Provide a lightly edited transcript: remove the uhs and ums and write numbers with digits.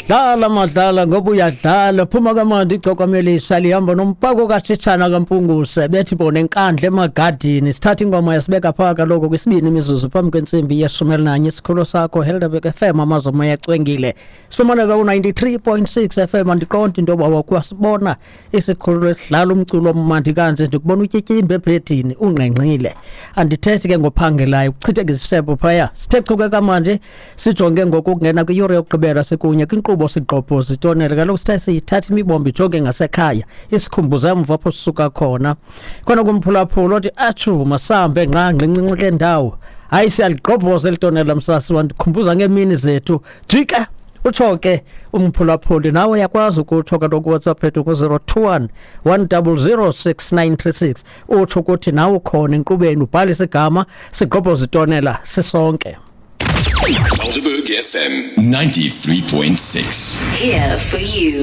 Dlala madlala ngoba uyadlala, phuma kamandi igcokamelisa lihamba nompako kaTshitshana kaMpunguse, bethi bona enkandla emagadini. Sithatha ingoma yasibeka phaa kaloku kwisibini imizuzu phambi kwentsimbi ye-11. Isikhululo sakho Helderberg FM, amazwe moya acwengile. Sifumaneka ku-93.6 FM. Andiqondi into yoba wakwasibona isikhululo esidlala umculo omandi kanje. Ndikubona utyityimbe ebhedini ungqengqile, andithethi ke ngophangelayo kuchitheka izishebo phaya. Sithe chuke kamanje, sijonge ngokungena kwiyure yokugqibela sikunye kwinkqubo Sigqobhoza Itonela. Kaloku sithe siyithatha imibombo ijonge ngasekhaya, isikhumbuze emva apho sisuka khona. Khona kumphulaphula othi atshu masambe ngqangqi incinci kule ndawo. Hayi, siyaligqobhoza eli tonela, msasi wandikhumbuza ngeemini zethu. Jika utsho ke umphulaphuli, nawe uyakwazi ukutsho kaloku WhatsApp ethu ku-021 100 6936, utsho ukuthi nawe ukhona enkqubeni, ubhalise igama. Sigqobhoza itonela sisonke. Helderberg FM 93.6. Here for you.